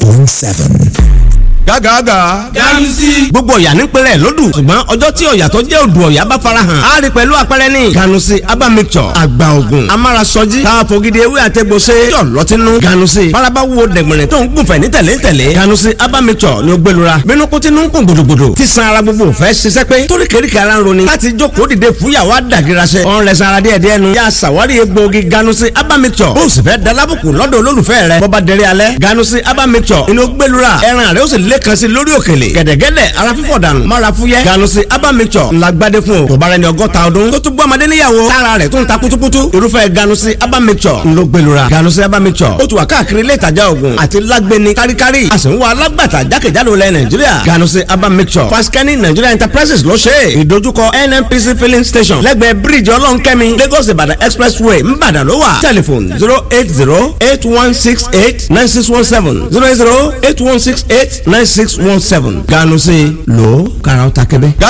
106.7. Gágàgà. Ganusi. Gbogbo ọ̀yà ní pẹ̀lẹ́ lódù, ṣùgbọ́n ọjọ́ tí ọ̀yà tó jẹ́ odò ọ̀yà bá farahàn á rí pẹ̀lú àpẹẹrẹ ní. Ganusi aba mixture, àgbà ògùn amárasọjí tá a fògidì ewé àtẹgbò ṣe yọ̀ lọ́tínú. Ganusi faraba wo dẹ̀gbẹ̀rẹ̀ tó ń gùnfẹ̀ ní tẹ̀lé tẹ̀lé. Ganusi aba mixture ni ó gbẹlura bínú kó tinú ń kún gbòdògbòdò tí san ara gbogbo fẹ́ ṣiṣẹ́ pé torí kèríkè ara ń roni láti jókòó dìde fúyàwó àdàgìrasẹ. Ọ̀n rẹ̀ sara díẹ̀ díẹ̀ nu. Yà sàwárí egbòogi Ganusi aba mixture, bó o sì fẹ́ dalábùkù lọ́dọ̀ olólùfẹ́ rẹ̀ bọ́ba dẹrẹ́ alẹ́. Ganusi aba mixture inú gbẹlura ẹran rẹ̀ ó sì lé kan sí lórí òkèlè gẹ̀dẹ̀gẹ̀dẹ̀, ara fífọ̀ dànù mára fúyẹ́. Ganusi aba mixture ńlá gbadé fún o. Kò bára ẹni 60 ọdún tó tún gbọ́ ọmọdé níyàwó tára rẹ̀ tó ń ta kutukutu, irúfẹ́ Ganusi aba mixture ńlọ gbẹlura. Ganusi aba mixture ó ti wà káàkiri ilé ìtajà oògùn àti lágbẹni káríkárí. A sì ń wá alágbàtà jákèjádò ilẹ̀ Nàìjíríà. Ganusi aba mixture, Faskani Nigeria Enterprises ló ṣe é. Ìdojúkọ NNPC filling station, lẹ́gbẹ̀ẹ́ bíríìjì Ọlọ́nkẹ́mi, Lagos Ìbàdàn expressway, Ńbàdàn ló wà. Telephone 08081689617, 08081689617. Ganusi lò ó kàrà ó ta kébé.